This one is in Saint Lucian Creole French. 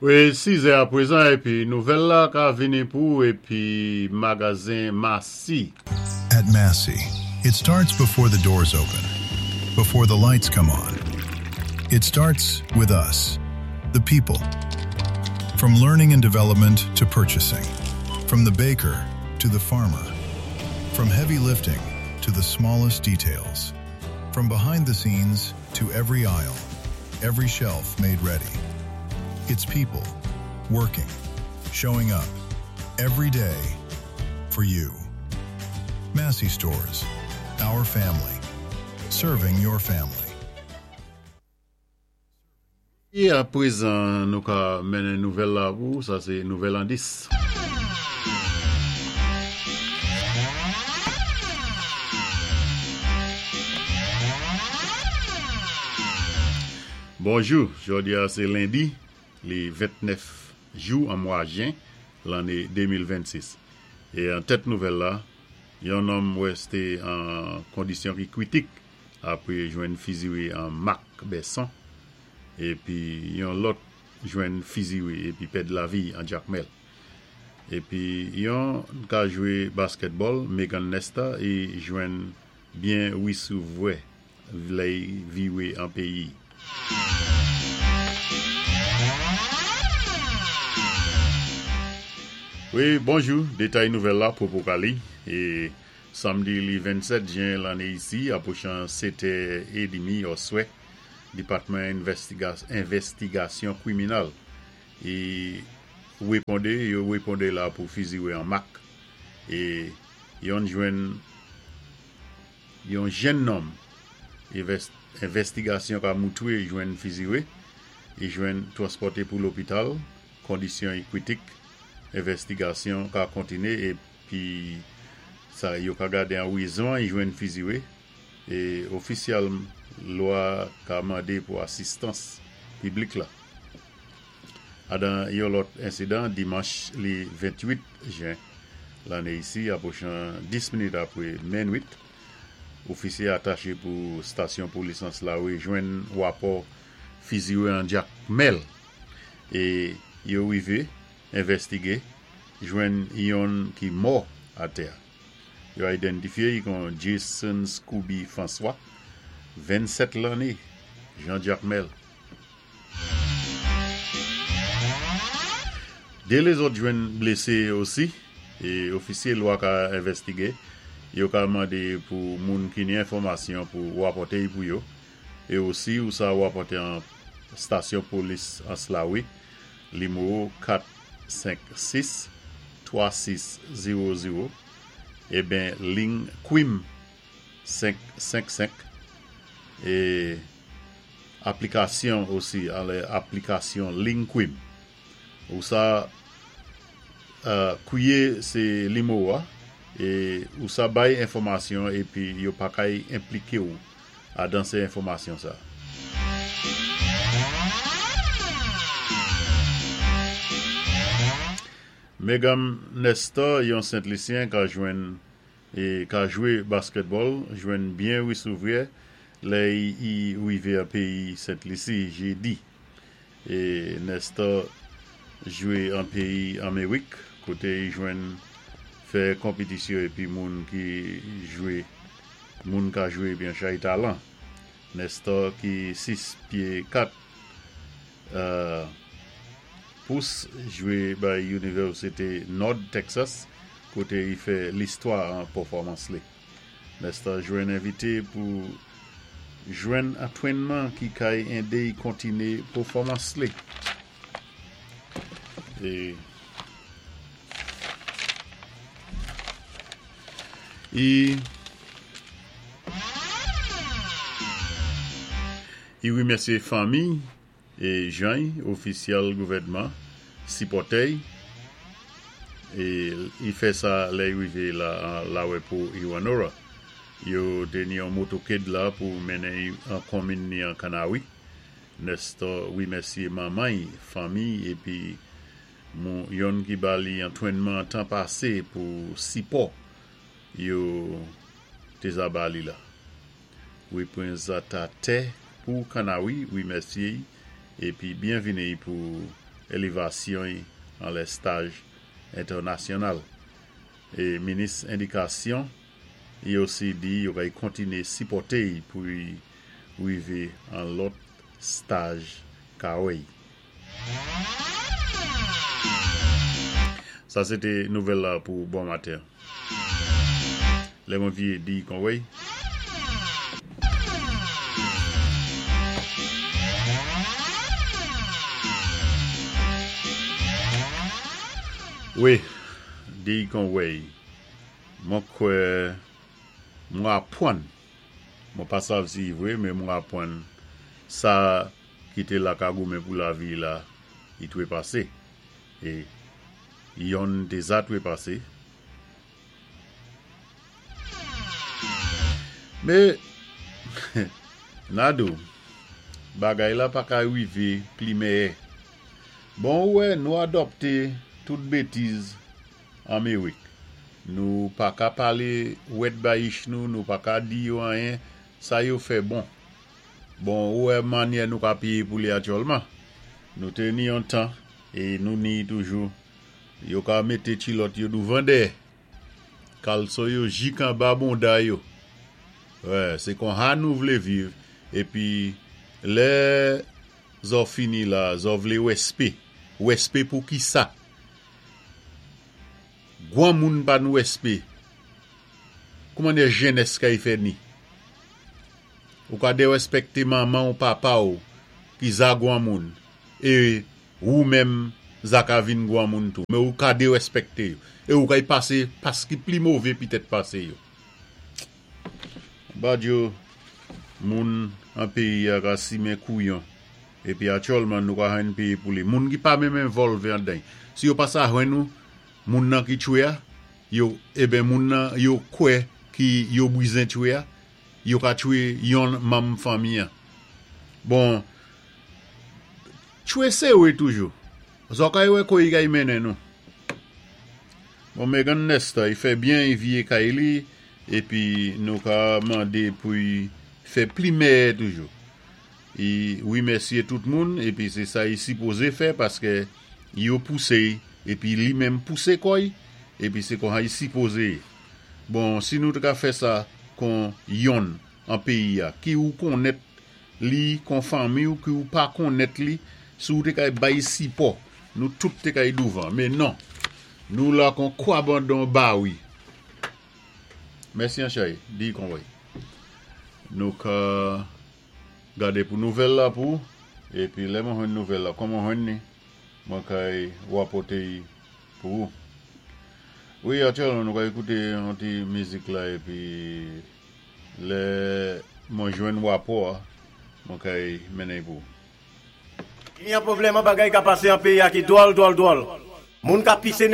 Wi, 6 è apwézan épi nouvèl la ka vini pou épi magazen Massy. At Massy, it starts before the doors open, before the lights come on. It starts with us, the people. From learning and development to purchasing, from the baker to the farmer, from heavy lifting to the smallest details, from behind the scenes to every aisle, every shelf made ready. It's people working, showing up every day for you. Massy Stores, our family, serving your family. É apwézan nou ka mennen nouvèl la pou ou, sa sé nouvèl an 10. Bonjou, jòdi a sé lendi, li 29 jou an mwa jen lanné 2026. É an tèt nouvèl la, yon nonm wèsté an kondisyon ki kwitik apwé jwenn fiziwé an Mak Bèson, épi yon lòt jwenn fiziwé épi pèd lavi an Jakmèl. Épi yon ka jwé baskètbòl, Megan Nesta, é jwenn byen wisouvwè lè-y viwé an péyi. Wi, bonjou, détay nouvèl la popo ka li. É samdi li 27 jen lanné isi, apwochan 7 è édmi òswè, Dipatman Envèstigasyon Kwiminal é wéponde, yo wéponde la pou fiziwé an mak é yonn jwenn Yon jenn nonm envèstigasyon ka moutwé jwenn fiziwé, i jwenn twanspòté pou lopital, kondisyon i kwitik, envèstigasyon ka kontiné épi sa yo ka gadé an wézon i jwenn fiziwé é ofisyal lwa ka mandé pou asistans piblik la. Adan yon lòt ensidan, dimanch li 28 jen lanne isi, apwochan 10 minit apwe menwit, ofisye atache pou stasyon polis an Slawe jwenn wapò fiziwe an Jakmèl e yo rive envèstige, jwenn yonn ki mò atè. Yo aidentifye y kon Jason Scooby François, 27 lanne, Jan Jakmèl. 2 lézòt jwenn blésé osi, é ofisye lwa ka envèstige, yo ka mandé pou moun ki ni enfòmasyon pou wapòte y pou yo, é osi ou sa wapòte an stasyon polis an Slawi, limwo 4 5 6 3 6 0 0, eben ling Kwim 5 5 5 é. Aplikasyon osi anlè aplikasyon LinQuim ou sa kwiye se limo a e ou sa bay enfòmasyon epi yo pa kay enplike ou adan se enfòmasyon sa. Megam Nestor yon Sent Lisyen ka jwenn E ka jwe basketball jwenn byen wisouvrè lè i rive an peyi Sent Lisi jedi. E Nestor jwe an peyi Amerik kote i jwenn fè konpetisyo epi moun ki jwe moun ka jwe epi an chay talan. Nestor ki 6 pye 4 pous jwe bay Inivèsite Nòd Texas kote i fè listwa an pèfòmans li. Nestor jwenn envite pou jwenn antwennman ki kay ende i kontine pèfòmans li. E i I wimèsyé fanmi é jany, ofisyèl gouvèdman, sipòtè-y, é i fè sa lè i rivé la an lawè pou Hewanorra. Yo té ni yon motoked la pou mennen-y an konminn ni an Kanawi. Nestor wimèsyé manman-y, fanmi-y épi mou yonn ki ba li antwennman tan pasé pou sipò yo té za ba li la. Reprezantatè pou Kanawi wimèsye-y épi byenvini pou élivasyon-y an lè staj entènasyonal. É minis édikasyon i osi di yo kay kontiné sipòté-y pou-y wivé an lòt staj kawèy. Sa sé té nouvèl la pou bon maten. Lè mwen vyé di kon wèy. Wi, di kon wèy. Mwen kwè mwen apwann, mwen pa sav si i vwé, men mwen apwann sa ki té la ka goumen pou lavi la, i dwé pasé. É yonn té za dwé pasé. Mé, na di-w, bagay la pa ka wivé pli mèyè. Bon ou wè nou adòpté tout bétiz Anmérik. Nou pa ka palé wèt bayich nou, nou pa ka di yo anyen, sa yo fè bon. Bon ou wè mannyè nou ka péyé pou li aktyèlman. Nou té ni yon tan, é nou ni toujou, yo ka mété tilòt yo douvan dèyè. Kalson yo jik anba bonda yo. Wè, sé konha nou vlé viv, épi lè zò fini la, zò vlé wèspé. Wèspé pou kisa? Gwanmoun pa n wèspé. Kouman dè jènès kay fè ni? Ou ka dèrèspèkté manman-w, papa-w ki za gwanmoun, é wou menm za ka vin gwanmoun tou, men ou ka dèrèspèkté yo, é ou kay pasé pas ki pli mové pitèt pasé yo. Badio, moun an péyi-a ka simen kouyon, épi aktyèlman nou ka jwenn péyé pou li. Moun ki pa menm envòlvé andan-y, si yo pa sa jwenn ou, moun nan ki tchwé-a, yo, eben moun nan yo kwè ki yo bwizen tchwé-a, yo ka tchwé yonn manm fanmi-an. Bon, tchwé séwé toujou. Zò kay wè koy kay mennen nou. Bon, Megan Nesta, i fè byen i vyé kay li, épi nou ka mandé pou-y fè pli mèyè toujou. I wimèsyé tout moun, épi sé sa i sipozé fè paskè yo pousé-y, épi li menm pousé kò-y, épi sé konsa i sipozé yé. Bon, si nou té ka fè sa kon yonn an péyi-a, ki ou konnèt li kon fanmi-w, ki ou pa konnèt li, si ou té kay bay sipò, nou tout té kay douvan. Men non, nou la kon kwabandon bawi. Mèsi anchay, di konwèy. Nou ka gadé pou nouvèl la pou, épi lè mwen jwenn nouvèl la, kon mwen jwenn ni, mwen kay wapòté-y pou ou. Wi, aktyèlman nou ka ékouté yon ti mizik la épi lè mwen jwenn wapò-a, mwen kay mennen-y pou ou. Ni yon pwoblèm an bagay ka pasé an péyi-a ki dwòl dwòl dwòl. Moun ka pisé.